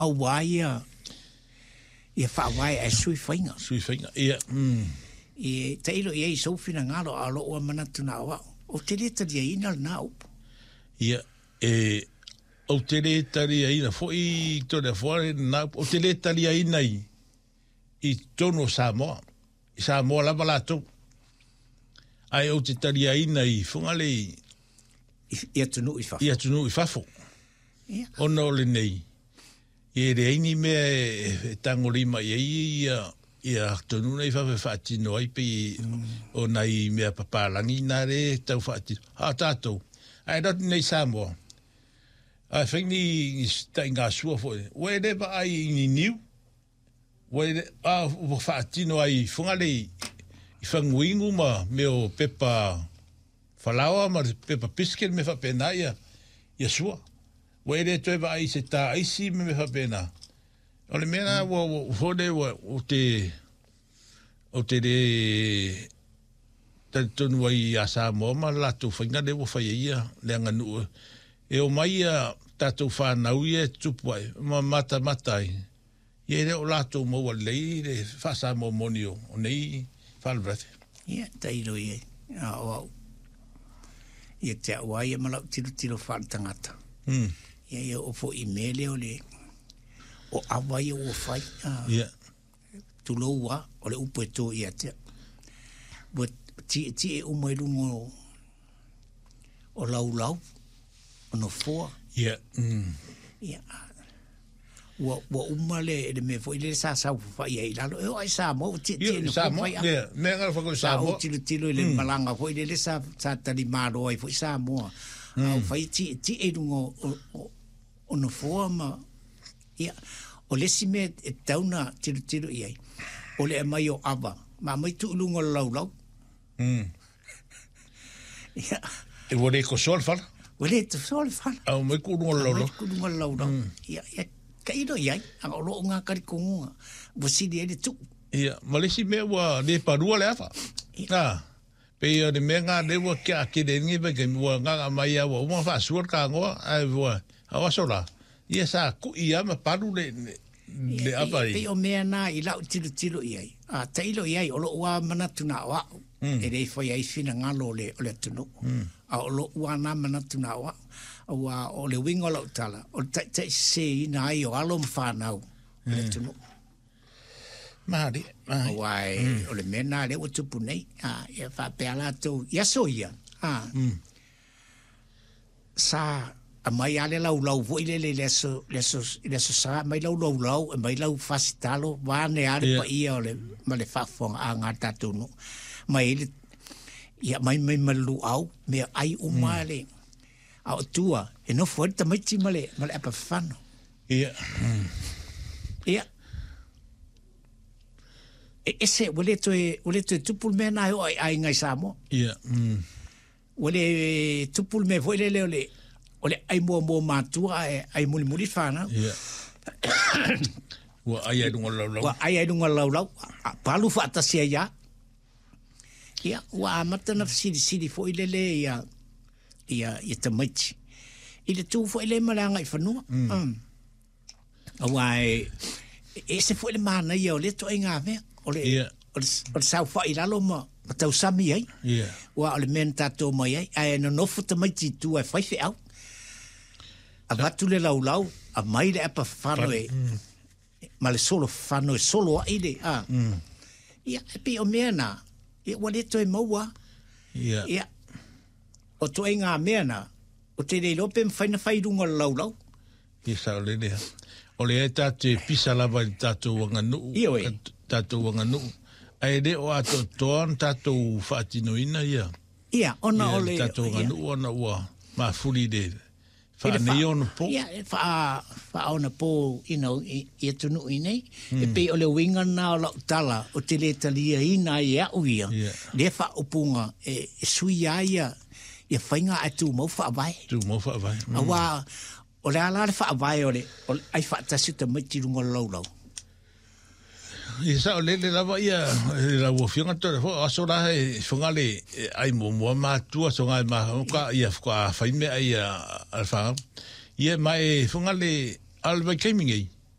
Aua ia ia faavae ae sui faiga. Sui faiga, ia. E tailo i ai i sou finagalo, a o lou lava manatu na o au, ou te le taliaina lena upu. Ia, e, ou te le taliaina foi Toleafoa lena upu, ou te le taliaina i, i totonu o Samoa, i Samoa lava latou. Ae ou te taliaina i Fugalei i, i atunuu i fafo. I atunuu i fafo. Ia. Ona o lenei, e leai ni mea e tagolima i ai ia ia atunuu nei i fafo e faatino ai pei o nai mea papalagi na lea e tau faatino. A o tatou, a e alu atu nei i Samoa, a e fai ni taigasua foi, ua e le vaai i ni niu, Ua le, a ua faatino ai i Fugalei i faguinu ma mea o pepa falaoa ma le pepa biscuit mea faapena ia ia sua. Ua e le toe vaai i se ta aisi ma mea faapena. O le mea la ua ua foi lea ua ou te ou te le talitonu ai ia Samoa ma le latou faiga lea ua fai ai ia le aganuu e omai ia tatou fanau ia e tutupu ai ma matamata ai. Ia e le o latou maua lelei le faa-Samoa moni o nei faalavelave. Ia, tailo i ai, a o au, ia te au lava ia ma lau tilotilo faaletagata. Ia, ia oo foi i mea lea o le, o ava ia ua fai, a, Ia. tulou lava, o le upu e to ia te au. Ua tietie uma i luga o, o laulau, o nofoa. Ia. Ia, ua, ua uma le, le mea foi lele sa saofafai ai i lalo. E oo lava i Samoa ua tietie i nofoa fai ava. Ia, mea ngā whakau Sa ou tilotilo i le malaga foi lele sa, sa talimalo ai foi Samoa. A ua fai tietie i luga o, o, o, o nofoa ma, ia, o le isi mea e tatau ona tilotilo i ai, o le aumai o ava, ma aumai tuu i luga o le laulau. Ia. E ua le tosoa le fala. Ua le tosoa le fala. Aumai tuu i luga o le laulau. Aumai tuu i luga o le laulau. Ia, ia, tailo i ai, a o lou lena talitonuga, ua sili ai le tuu. Ia, ma le isi mea ua le palua le ava. Ia. A, pei o le mea lena lea ua ke'a tele ai lenei vaitaimi, ua gaga mai lava ua uma ona faasua le tanoa, ae ua, a o aso la, ia sa ku'i lava ma palu le, le, le ava i. Pei o mea na i lau tilotilo i ai, a tailo i ai, o lou lava manatu na o au, e le fai ai finagalo o le, o le atunuu. A o lou lava na manatu na o au, aua o le uiga o lau tala, o le taitaiseseina ai o alo ma fanau o le atunuu. Malie, malie. Aua o le mea na lea ua tupu nei, a, ia faapea latou i aso ia, a, sa aumai lava le laulau foi lele i le aso, le aso, i le aso Sa, aumai lau laulau, aumai lau fasi talo, vaeane lava le yeah. paia o le, ma le faafofogaaga a le tatou nuu. Mai ai le, ia aumai mai ma le luau, mea ai uma le, a o tua, e nofo ai le tamaiti ma le, ma le apa fafano. Ia. Ia. E ese, ua le toe, ua le toe tupu le mea lena e oo i aiga i Samoa. Ia. Ua le tupu le mea foi lele o le o le ai muamua matua ae ai mulimuli fanau. Ia. Ua ai ai luga o le laulau. Ua ai ai luga o le laulau, a palu faatasi ai lava. Ia, ua amata ona fesilisili foi lele ia ia ia tamaiti i le tu foi lea ma le agaifanua. Mm. Aua e ese foi le manaia o lea ituaiga mea, o le, yeah. o le, o le saofai i lalo ma, ma tausami ai. Yeah. Ua o le mea na tatou mai ai, ae nonofo tamaiti i tua e fai feau. Avatu le laulau, aumai le apa fano e, mm. ma le solo fano e solo ai le, a. Mm. Ia, e pei o mea na, ia ua le toe maua. Yeah. Ia, o ituaiga mea na, ou te le iloa pe mafai ona fai i luga o le laulau. Ia saolele lava. O lea e tatou te pisa lava i le tatou aganuu, Ioe. tatou aganuu, ae le o atoatoa ona tatou faatinoina ia, Ia, ona ia o le le, tatou ia. aganuu ona ua mafuli i le I le faaneionapo. Ia, e faa, faaonapo, you know, i, i atunuu i nei. E pei o le uiga lena o lau tala, ou te le taliaina ai e au ia, Ia. lea faaupuga e, e sui ai ia, ia faiga ae tumau faavae. Tumau faavae. Aua O le a la le faavae o le, o le ai faatasi o tamaiti i luga o le laulau? Ia saolele lava ia lau afioga Toleafoa, o aso la e Fogale e ai muamua matua soga e mafaufau ia faatoa fai meaai a le fanau. Ia ma e Fogale a o le vaitaimi nei.